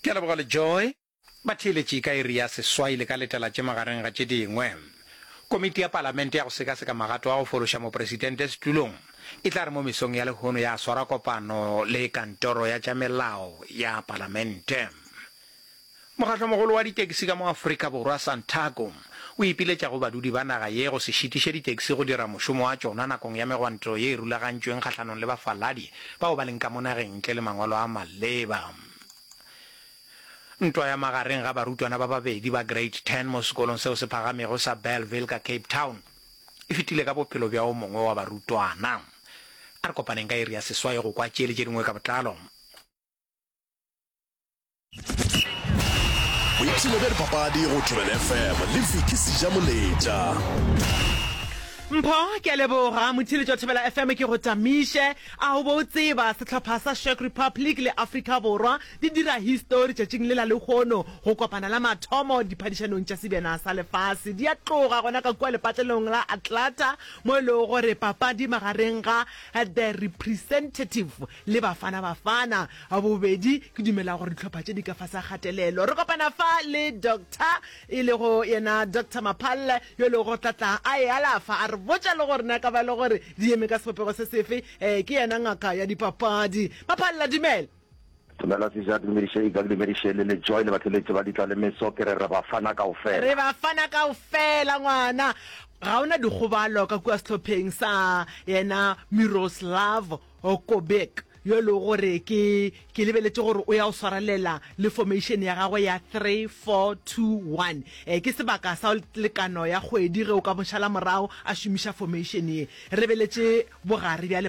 Ke a leboga Lejoy. Batheeletši ka iri ya seswai le ka letela tše magareng ga tše dingwe. Komiti ya Palamente ya go sekaseka magato a go fološa Mopresidente setulong e tla re mo mesong ya lehono ya swara kopano le Kantoro ya tša Melao ya Palamente. Mokgahlomogolo wa ditekisi ka mo Afrika Borwa, Santaco, o ipiletša go badudi ba naga ye go se šitiše ditekisi go dira mošomo wa tšona nakong ya megwanto ye e rulagantšweng kgahlanong le bafaladi bao ba leng ka mo nageng ntle le mangwalo a maleba. Ntwa ya magareng ga barutwana ba babedi ba Grade 10 mo sekolong seo se phagamego sa Bellville ka Cape Town e fetile ka bophelo bja o mongwe wa barutwana. A re kopaneng ka iri ya seswai go kwa tše le tše dingwe ka botlalo. Boipshino bja dipapadi go Thobela FM le Vicky Sejamoletša. Mpho, ke a leboga. Motheeletši wa Thobela FM ke go tamiše. A o be o tseba, sehlopha sa Czech Republic le Afrika Borwa di dira histori tšatšing le la lehono go kopana la mathomo diphadišanong tša Sebjana sa Lefase. Di a tloga gona ka kua lepatlelong la Atlanta mo e lego gore papadi magareng ga The Representative le Bafana Bafana bobedi ke dumela gore dihlopha tše di ka fase ga kgatelelo. Re kopana fa le Doctor e lego yena Doctor Maphalle yo e lego gore tla tla a e alafa a re botša le gore na ka ba le gore di eme ka sebopego se sefe. Eh, ke yena ngaka ya dipapadi. Maphalle, dumela. Dumela Sija, ke dumediše Ika, ke dumediše le Lejoy le batheletši ba Ditla le Meso, ke re re bafana kaofela. Re bafana kaofela ngwana. Ga o na dikgobalo ka kua sehlopheng sa yena Miroslav Okobek, yo e lego gore ke, ke lebeletše gore o ya go swarelela le formation ya gagwe ya 3-4-2-1. E, ke sebaka sa lekano ya kgwedi ge o ka mo šala morago a šomiša formation ye. Re lebeletše bogare bja lepa.